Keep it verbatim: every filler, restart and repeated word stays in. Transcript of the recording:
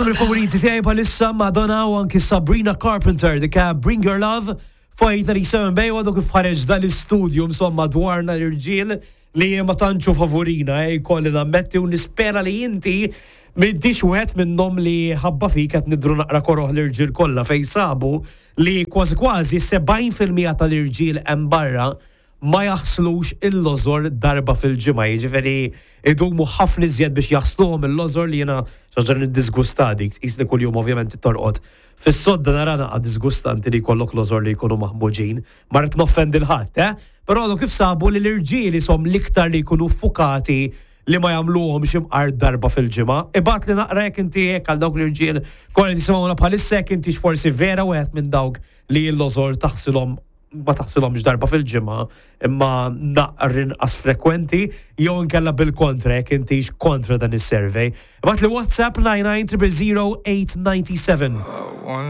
Waħda mill-favoriti tiegħi bħalissa, Madonna u anki Sabrina Carpenter, dika Bring Your Love, fuq eight ninety-seven Bay. Għadu kif ħareġ dal-istudju insomma dwarna l-irġiel li ma tantxu favorina, eh, kolli nammetti, u nispera li inti m'intix wieħed minnhom li ħabba fik qed nidru naqra koroħ l-irġiel kollha, fejn sabu li kważi kważi sebgħin fil-mija tal-irġiel hemm barra ma jaħslux il-lożor darba fil-ġimgħa, jiġifieri idumu ħafna iżjed biex jaħsluhom il-lożor, li jiena xi ħaġa niddisgusta dik, qisni kuljum ovvjament torqod. Fis-sodda nara naqa disgustanti li jkollok lożor li jkunu maħmuġin, ma rrid noffendi l-ħadd, eh? Però għadu kif sabu li l-irġieli som l-iktar li jkunu fukati li ma jagħmluhom x'imqar darba fil-ġimgħa. Ibgħatli naqra jekk inti hekk, għal dawk l-irġiel kollha tisimgħuna bħalissa, jekk inti forsi vera wieħed minn dawk li l-lożor taħsilhom, ma taħsilhomx darba fil-ġimgħa imma naqra inqas frekwenti, jew inkella bil-kontra, jekk intix kontra dan is-survey. Ibgħatli WhatsApp nine nine zero zero eight nine seven.